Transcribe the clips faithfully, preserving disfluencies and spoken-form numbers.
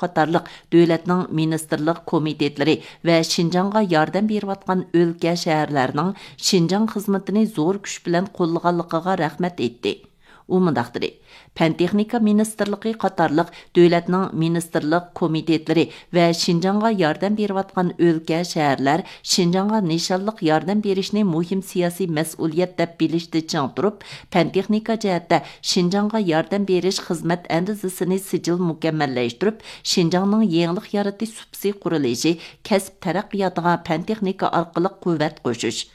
قاتارلىق دۆلەتنىڭ مىنىستىرلىق كومىتېتلىرى ۋە شىنجاڭغا ياردەم بېرىۋاتقان ئۆلكە، شەھەرلەرنىڭ شىنجاڭ خىزمىتىنى زور كۈچ بىلەن قوللىغانلىقىغا رەھمەت ئېيتتى. ئۇ مۇنداق دېدى: پەن تېخنىكا مىنىستىرلىقى قاتارلىق دۆلەتنىڭ مىنىستىرلىق كومىتېتلىرى ۋە شىنجاڭغا ياردەم بېرىۋاتقان ئۆلكە، شەھەرلەر شىنجاڭغا نىشانلىق ياردەم بېرىشنى مۇھىم سىياسىي مەسئۇلىيەت دەپ بىلىشتە چىڭ تۇرۇپ، پەن تېخنىكا جەھەتتە شىنجاڭغا ياردەم بېرىش خىزمەت ئەندىزىسىنى سىجىل مۇكەممەللەشتۈرۈپ، شىنجاڭنىڭ يېڭىلىق يارىتىش سۇپىسى قۇرۇلۇشى، كەسىپ تەرەققىياتىغا پەن تېخنىكا ئارقىلىق قۇۋۋەت قوشۇش،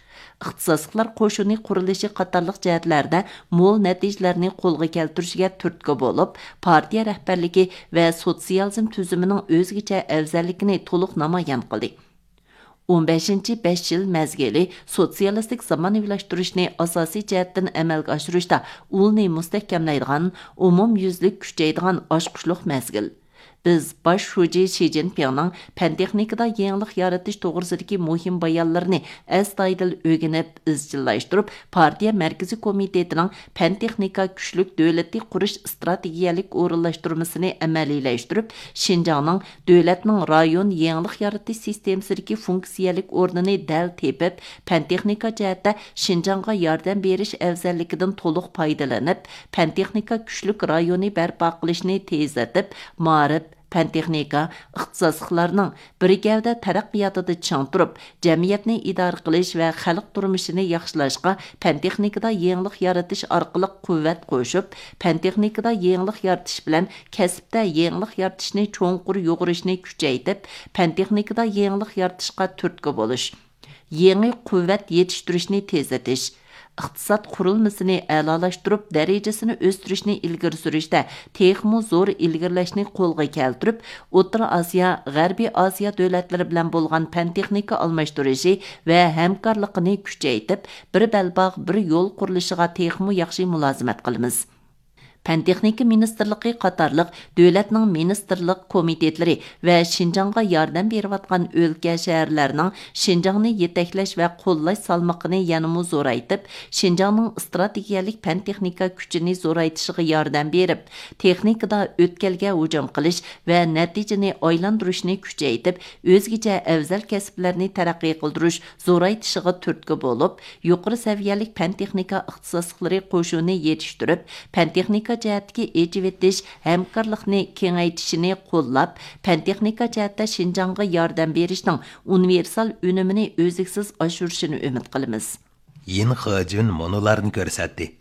ئىختىساسلىقلار قوشۇنى قۇرۇلۇشى قاتارلىق جەھەتلەردە مول نەتىجىلەرنى قولغا كەلتۈرۈشىگە تۈرتكە بولۇپ، پارتىيە رەھبەرلىكى ۋە سوتسىيالىزم تۈزۈمىنىڭ ئۆزگىچە ئەۋزەللىكىنى تولۇق نامايان قىلدى. ئون بەشىنچى بەش يىل مەزگىلى سوتسىيالىستىك زامانىۋىلاشتۇرۇشنى ئاساسىي جەھەتتىن ئەمەلگە ئاشۇرۇشتا ئۇلنى مۇستەھكەملەيدىغان، ئومۇميۈزلۈك كۈچەيدىغان ئاچقۇچلۇق مەزگىل. بىز باش شۇجى شى جىنپىڭنىڭ پەن تېخنىكىدا يېڭىلىق يارىتىش توغرىسىدىكى مۇھىم بايانلىرىنى ئەستايىدىل ئۆگىنىپ، ئىزچىللاشتۇرۇپ، پارتىيە مەركىزىي كومىتېتىنىڭ پەن تېخنىكا كۈچلۈك دۆلىتى قۇرۇش ئىستراتېگىيەلىك ئورۇنلاشتۇرمىسىنى ئەمەلىيلەشتۈرۈپ، شىنجاڭنىڭ دۆلەتنىڭ رايون يېڭىلىق يارىتىش سىستېمىسىدىكى فۇنكسىيەلىك ئورنىنى دەل تېپىپ، پەن تېخنىكا جەھەتتە شىنجاڭغا ياردەم بېرىش ئەۋزەللىكىدىن تولۇق پايدىلىنىپ، پەن تېخنىكا كۈچلۈك رايونى بەرپا قىلىشنى تېزلىتىپ، مائارىپ، پەن تېخنىكا، ئىختىساسلىقلارنىڭ بىر گەۋدە تەرەققىياتىدا چىڭ تۇرۇپ، جەمئىيەتنى ئىدارە قىلىش ۋە خەلق تۇرمۇشىنى ياخشىلاشقا، پەن تېخنىكىدا يېڭىلىق يارىتىش ئارقىلىق قۇۋۋەت قوشۇپ، پەن تېخنىكىدا يېڭىلىق يارىتىش بىلەن كەسىپتە يېڭىلىق يارىتىشنى چوڭقۇر يۇغۇرۇشنى كۈچەيتىپ، پەن تېخنىكىدا يېڭىلىق يارىتىشقا تۈرتكە بولۇش، يېڭى قۇۋۋەت يېتىشتۈرۈشنى تېزلىتىش، ئىقتىساد قۇرۇلمىسىنى ئەلالاشتۇرۇپ، دەرىجىسىنى ئۆستۈرۈشنى ئىلگىرى سۈرۈشتە تېخىمۇ زور ئىلگىرىلەشنى قولغا كەلتۈرۈپ، ئوتتۇرا ئاسىيا، غەربىي ئاسىيا دۆلەتلىرى بىلەن بولغان پەن تېخنىكا ئالماشتۇرۇشى ۋە ھەمكارلىقىنى كۈچەيتىپ، بىر بەلباغ، بىر يول قۇرۇلۇشىغا تېخىمۇ ياخشى مۇلازىمەت قىلىمىز. پەن تېخنىكا مىنىستىرلىقى قاتارلىق دۆلەتنىڭ مىنىستىرلىق كومىتېتلىرى ۋە شىنجاڭغا ياردەم بېرىۋاتقان ئۆلكە، شەھەرلەرنىڭ شىنجاڭنى يېتەكلەش ۋە قوللاش سالمىقىنى يەنىمۇ زورايتىپ، شىنجاڭنىڭ ئىستراتېگىيەلىك پەن تېخنىكا كۈچىنى زورايتىشىغا ياردەم بېرىپ، تېخنىكىدا ئۆتكەلگە ھۇجۇم قىلىش ۋە نەتىجىنى ئايلاندۇرۇشنى كۈچەيتىپ، ئۆزگىچە ئەۋزەل كەسىپلەرنى تەرەققىي قىلدۇرۇش زورايتىشىغا تۈرتكە بولۇپ، يۇقىرى سەۋىيەلىك پەن تېخنىكا ئىختىساسلىقلىرى قوشۇنى يېتىشتۈرۈپ، پەن تېخنىكا جەھەتتىكى ئېچىۋېتىش ھەمكارلىقنى كېڭەيتىشىنى قوللاپ، پەن تېخنىكا جەھەتتە شىنجاڭغا ياردەم بېرىشنىڭ ئۇنىۋېرسال ئۈنۈمىنى ئۈزلۈكسىز ئاشۇرۇشىنى ئۈمىد قىلىمىز. يىن خېجۈن مۇنۇلارنى كۆرسەتتى.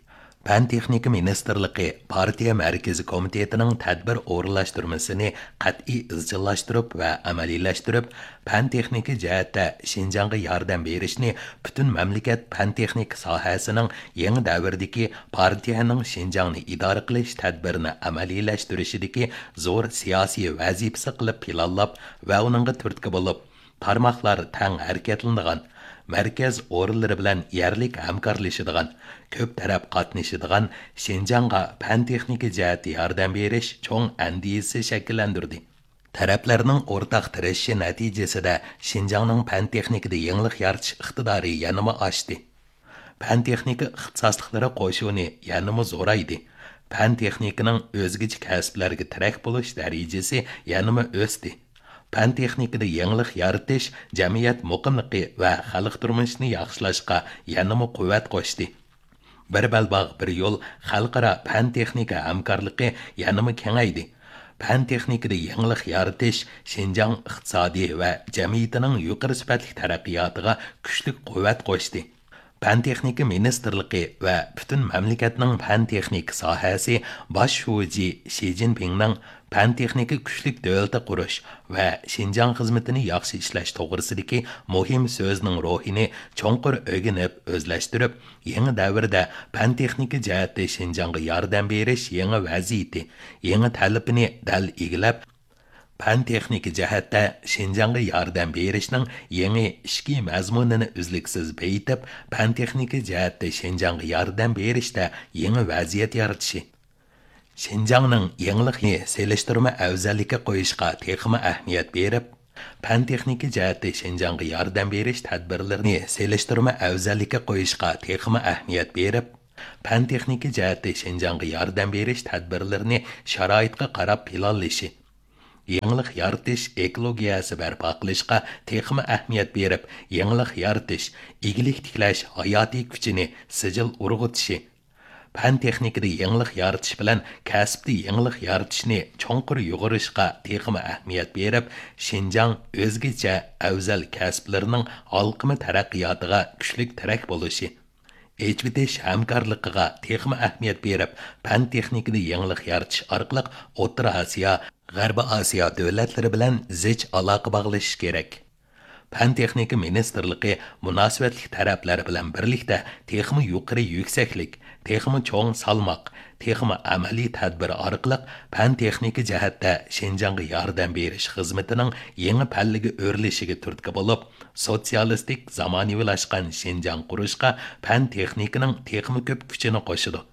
پەن تېخنىكا مىنىستىرلىقى پارتىيە مەركىزىي كومىتېتىنىڭ تەدبىر ئورۇنلاشتۇرمىسىنى قەتئىي ئىزچىللاشتۇرۇپ ۋە ئەمەلىيلەشتۈرۈپ، پەن تېخنىكا جەھەتتە شىنجاڭغا ياردەم بېرىشنى پۈتۈن مەملىكەت پەن تېخنىكا ساھەسىنىڭ يېڭى دەۋردىكى پارتىيەنىڭ شىنجاڭنى ئىدارە قىلىش تەدبىرىنى ئەمەلىيلەشتۈرۈشىدىكى زور سىياسىي ۋەزىپىسى قىلىپ پىلانلاپ ۋە ئۇنىڭغا تۈرتكە بولۇپ، تارماقلار تەڭ ھەرىكەتلىنىدىغان، مەركەز ئورۇنلىرى بىلەن يەرلىك ھەمكارلىشىدىغان، كۆپ تەرەپ قاتنىشىدىغان شىنجاڭغا پەن تېخنىكا جەھەتتە ياردەم بېرىش چوڭ ئەندىزىسى شەكىللەندۈردى. تەرەپلەرنىڭ ئورتاق تىرىشىشى نەتىجىسىدە شىنجاڭنىڭ پەن تېخنىكىدا يېڭىلىق يارىتىش ئىقتىدارى يەنىمۇ ئاشتى. پەن تېخنىكا ئىختىساسلىقلىرى قوشۇنى يەنىمۇ زورايدى. پەن تېخنىكىنىڭ ئۆزگىچە كەسىپلەرگە تىرەك بولۇش دەرىجىسى يەنىمۇ ئۆستى. پەن تېخنىكىدا يېڭىلىق يارىتىش جەمئىيەت مۇقىملىقى ۋە خەلق تۇرمۇشىنى ياخشىلاشقا يەنىمۇ قۇۋۋەت قوشتى. بىر بەلباغ، بىر يول خەلقئارا پەن تېخنىكا ھەمكارلىقى يەنىمۇ كېڭەيدى. پەن تېخنىكىدا يېڭىلىق يارىتىش شىنجاڭ ئىقتىسادى ۋە جەمئىيىتىنىڭ يۇقىرى سۈپەتلىك تەرەققىياتىغا كۈچلۈك قۇۋۋەت قوشتى. پەن تېخنىكا مىنىستىرلىقى ۋە پۈتۈن مەملىكەتنىڭ پەن تېخنىكا ساھەسى باش شۇجى شى جىنپىڭنىڭ پەن تېخنىكا كۈچلۈك دۆلىتى قۇرۇش ۋە شىنجاڭ خىزمىتىنى ياخشى ئىشلەش توغرىسىدىكى مۇھىم سۆزىنىڭ روھىنى چوڭقۇر ئۆگىنىپ، ئۆزلەشتۈرۈپ، يېڭى دەۋردە پەن تېخنىكا جەھەتتە شىنجاڭغا ياردەم بېرىش يېڭى ۋەزىيىتى، يېڭى تەلىپىنى دەل ئىگىلەپ، پەن تېخنىكا جەھەتتە شىنجاڭغا ياردەم بېرىشنىڭ يېڭى ئىچكى مەزمۇنىنى ئۈزلۈكسىز بېيىتىپ، پەن تېخنىكا جەھەتتە شىنجاڭغا ياردەم بېرىشتە يېڭى ۋەزىيەت يارىتىشى. شىنجاڭنىڭ يېڭىلىقنى سېلىشتۇرما ئەۋزەللىككە قويۇشقا تېخىمۇ ئەھمىيەت بېرىپ، پەن تېخنىكا جەھەتتە شىنجاڭغا ياردەم بېرىش تەدبىرلىرىنى سېلىشتۇرما ئەۋزەللىككە قويۇشقا تېخىمۇ ئەھمىيەت بېرىپ، پەن تېخنىكا جەھەتتە شىنجاڭغا ياردەم بېرىش تەدبىرلىرىنى شارائىتقا قاراپ پىلانلىشى، يېڭىلىق يارىتىش ئېكولوگىيەسى بەرپا قىلىشقا تېخىمۇ ئەھمىيەت بېرىپ، يېڭىلىق يارىتىش، ئىگىلىك تىكلەش ھاياتىي كۈچىنى سىجىل ئۇرغۇتۇشى، پەن تېخنىكىدا يېڭىلىق يارىتىش بىلەن كەسىپتە يېڭىلىق يارىتىشنى چوڭقۇر يۇغۇرۇشقا تېخىمۇ ئەھمىيەت بېرىپ، شىنجاڭ ئۆزگىچە ئەۋزەل كەسىپلىرىنىڭ ھالقىما تەرەققىياتىغا كۈچلۈك تىرەك بولۇشى، ئېچىۋېتىش ھەمكارلىقىغا تېخىمۇ ئەھمىيەت بېرىپ، پەن تېخنىكىدا يېڭىلىق يارىتىش ئارقىلىق ئوتتۇرا ئاسىيا، غەربىي ئاسىيا دۆلەتلىرى بىلەن زىچ ئالاقە باغلىشىش كېرەك. پەن تېخنىكا مىنىستىرلىقى مۇناسىۋەتلىك تەرەپلەر بىلەن بىرلىكتە تېخىمۇ يۇقىرى يۈكسەكلىك، تېخىمۇ چوڭ سالماق، تېخىمۇ ئەمەلىي تەدبىر ئارقىلىق پەن تېخنىكا جەھەتتە شىنجاڭغا ياردەم بېرىش خىزمىتىنىڭ يېڭى پەللىگە ئۆرلىشىگە تۈرتكە بولۇپ، سوتسىيالىستىك زامانىۋىلاشقان شىنجاڭ قۇرۇشقا پەن تېخنىكىنىڭ تېخىمۇ كۆپ كۈچىنى قوشىدۇ.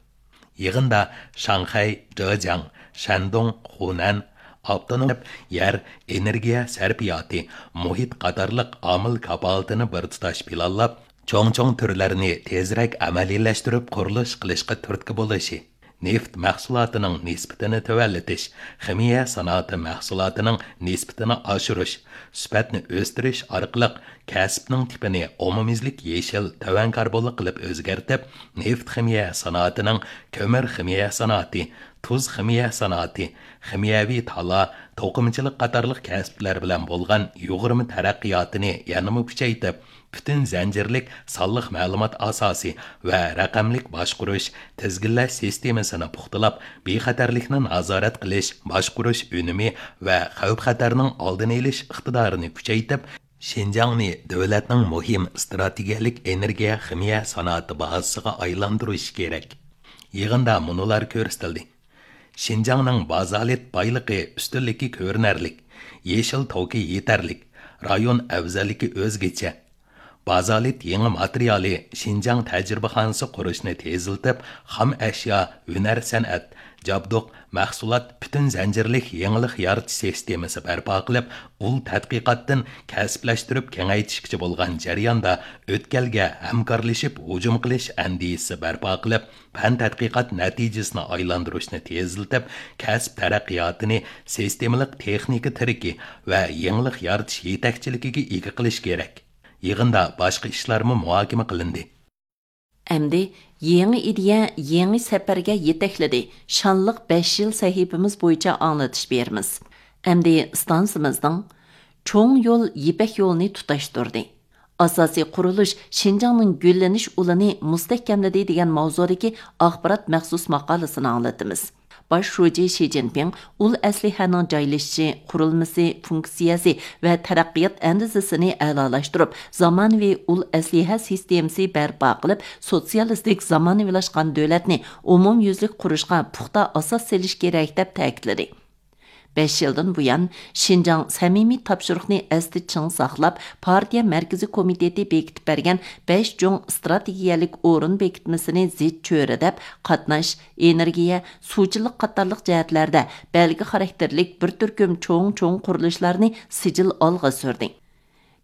يىغىندا شاڭخەي، جېجياڭ، شەندۇڭ، خۇنەن، ئاپتونوم يەر، ئېنېرگىيە سەرپىياتى، مۇھىت قاتارلىق ئامىل كاپالىتىنى بىر تۇتاش پىلانلاپ، چوڭ-چوڭ تۈرلەرنى تېزرەك ئەمەلىيلەشتۈرۈپ قۇرۇلۇش قىلىشقا تۈرتكە بولۇشى، نېفىت مەھسۇلاتىنىڭ نىسبىتىنى تۆۋەنلىتىش، خىمىيە سانائىتى مەھسۇلاتىنىڭ نىسبىتىنى ئاشۇرۇش، سۈپەتنى ئۆستۈرۈش ئارقىلىق كەسىپنىڭ تىپىنى ئومۇميۈزلۈك يېشىل تەۋەڭكاربونلۇق قىلىپ ئۆزگەرتىپ، نېفىت خىمىيە سانائىتىنىڭ كۆمۈر خىمىيە سانائىتى، تۇز خىمىيە سانائىتى، خىمىيەۋى تالا، توقۇمىچىلىق قاتارلىق كەسىپلەر بىلەن بولغان يۇغۇرما تەرەققىياتىنى يەنىمۇ كۈچەيتىپ، پۈتۈن زەنجىرلىك سانلىق مەلۇمات ئاساسى ۋە رەقەملىك باشقۇرۇش، تىزگىنلەش سىستېمىسىنى پۇختىلاپ، بىخەتەرلىكنى نازارەت قىلىش، باشقۇرۇش ئۈنۈمى ۋە خەۋپ-خەتەرنىڭ ئالدىنى ئېلىش ئىقتىدارىنى كۈچەيتىپ، شىنجاڭنى دۆلەتنىڭ مۇھىم ئىستراتېگىيەلىك ئېنېرگىيە خىمىيە سانائىتى بازىسىغا ئايلاندۇرۇش كېرەك. يىغىندا مۇنۇلار كۆرسىتىلدى: شىنجاڭنىڭ بازالت بايلىقى ئۈستۈنلۈكى كۆرۈنەرلىك، يېشىل توكى يېتەرلىك، رايون ئەۋزەللىكى ئۆزگىچە. بازالت يېڭى ماتېرىيالى شىنجاڭ تەجرىبىخانىسى قۇرۇشنى تېزلىتىپ، خام ئەشيا، ھۈنەر سەنئەت، جابدۇق، مەھسۇلات پۈتۈن زەنجىرلىك يېڭىلىق يارىتىش سىستېمىسى بەرپا قىلىپ، ئۇل تەتقىقاتتىن كەسىپلەشتۈرۈپ كېڭەيتىشكىچە بولغان جەرياندا ئۆتكەلگە ھەمكارلىشىپ ھۇجۇم قىلىش ئەندىزىسى بەرپا قىلىپ، پەن تەتقىقات نەتىجىسىنى ئايلاندۇرۇشنى تېزلىتىپ، كەسىپ تەرەققىياتىنى سىستېمىلىق تېخنىكا تىرىكى ۋە يېڭىلىق يارىتىش يېتەكچىلىكىگە ئىگە قىلىش كېرەك. يىغىندا باشقا ئىشلارمۇ مۇھاكىمە قىلىندى. ئەمدى يېڭى ئىدىيە، يېڭى سەپەرگە يېتەكلىدى. شانلىق بەش يىل سەھىپىمىز بويىچە ئاڭلىتىش بېرىمىز. ئەمدى ئىستانسىمىزنىڭ چوڭ يول يىپەك يولىنى تۇتاشتۇردى. ئاساسىي قۇرۇلۇش شىنجاڭنىڭ گۈللىنىش ئۇلىنى مۇستەھكەملىدى دېگەن ماۋزۇدىكى ئاخبارات مەخسۇس ماقالىسىنى ئاڭلىتىمىز. باش شۇجى شى جىنپىڭ ئۇل ئەسلىھەنىڭ جايلىشىشى، قۇرۇلمىسى، فۇنكسىيەسى ۋە تەرەققىيات ئەندىزىسىنى ئەلالاشتۇرۇپ، زامانىۋى ئۇل ئەسلىھە سىستېمىسى بەرپا قىلىپ، سوتسىيالىستىك زامانىۋىلاشقان دۆلەتنى ئومۇميۈزلۈك قۇرۇشقا پۇختا ئاساس سېلىش كېرەك، دەپ تەكىتلىدى. بەش يىلدىن بۇيان، شىنجاڭ سەمىمىي تاپشۇرۇقنى ئەستە چىڭ ساقلاپ، پارتىيە مەركىزىي كومىتېتى بېكىتىپ بەرگەن بەش چوڭ ئىستراتېگىيەلىك ئورۇن بېكىتمىسىنى زىچ چۆرىدەپ، قاتناش، ئېنېرگىيە، سۇچىلىق قاتارلىق جەھەتلەردە بەلگە خاراكتېرلىك بىر تۈركۈم چوڭ-چوڭ قۇرۇلۇشلارنى سىجىل ئالغا سۈردى.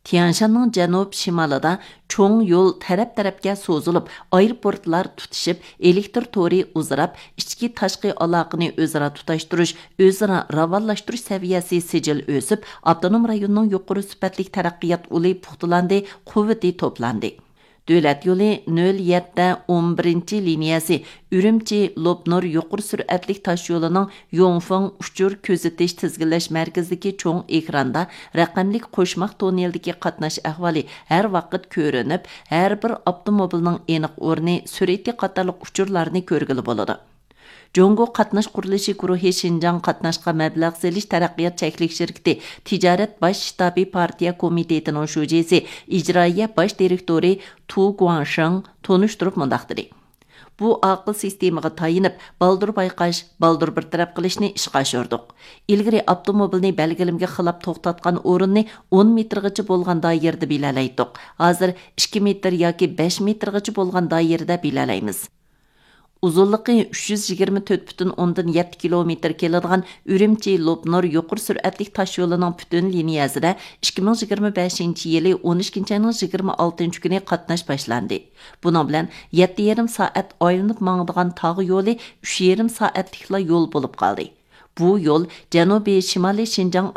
تيەنشاننىڭ جەنۇب شىمالىدا چوڭ يول تەرەپ-تەرەپكە سوزۇلۇپ، ئايروپورتلار تۇتىشىپ، ئېلېكتىر تورى ئۇزىراپ، ئىچكى-تاشقى ئالاقىنى ئۆزئارا تۇتاشتۇرۇش، ئۆزئارا راۋانلاشتۇرۇش سەۋىيەسى سىجىل ئۆسۈپ، ئاپتونوم رايوننىڭ يۇقىرى سۈپەتلىك تەرەققىيات ئۇلى پۇختىلاندى، قۇۋۋىتى توپلاندى. دۆلەت يولى نۆل يەتتە ئون بىرىنچى لىنىيەسى ئۈرۈمچى لوپنۇر يۇقىرى سۈرئەتلىك تاشيولىنىڭ يۇڭفېڭ ئۇچۇر كۆزىتىش تىزگىنلەش مەركىزىدىكى چوڭ ئېكراندا رەقەملىك قوشماق توننېلدىكى قاتناش ئەھۋالى ھەر ۋاقىت كۆرۈنۈپ، ھەر بىر ئاپتوموبىلنىڭ ئېنىق ئورنى، سۈرئىتى قاتارلىق ئۇچۇرلارنى كۆرگىلى بولىدۇ. جۇڭگو قاتناش قۇرۇلۇشى گۇرۇھى شىنجاڭ قاتناشقا مەبلەغ سېلىش تەرەققىيات چەكلىك شىركىتى تىجارەت باش شتابى پارتىيە كومىتېتىنىڭ شۇجىسى، ئىجرائىيە باش دىرېكتورى تۇ گۇاڭشېڭ تونۇشتۇرۇپ مۇنداق دېدى: بۇ ئاقىل سىستېمىغا تايىنىپ، بالدۇر بايقاش، بالدۇر بىر تەرەپ قىلىشنى ئىشقا ئاشۇردۇق. ئىلگىرى ئاپتوموبىلنى بەلگىلىمىگە خىلاپ توختاتقان ئورۇننى ئون مېتىرغىچە بولغان دائىرىدە بىلەلەيتتۇق. ھازىر ئىككى مېتىر ياكى بەش مېتىرغىچە بولغان دائىرىدە بىلەلەيمىز. ئۇزۇنلۇقى ئۈچ يۈز يىگىرمە تۆت پۈتۈن ئوندىن يەتتە كىلومېتىر كېلىدىغان ئۈرۈمچى لوپنۇر يۇقىرى سۈرئەتلىك تاشيولىنىڭ پۈتۈن لىنىيەسىدە ئىككى مىڭ يىگىرمە بەشىنچى يىلى ئون ئىككىنچى ئاينىڭ يىگىرمە ئالتىنچى كۈنى قاتناش باشلاندى. بۇنىڭ بىلەن يەتتە يېرىم سائەت ئايلىنىپ ماڭىدىغان تاغ يولى ئۈچ يېرىم سائەتلىكلا يول بولۇپ قالدى. بۇ يول جەنۇبىي شىمالىي شىنجاڭ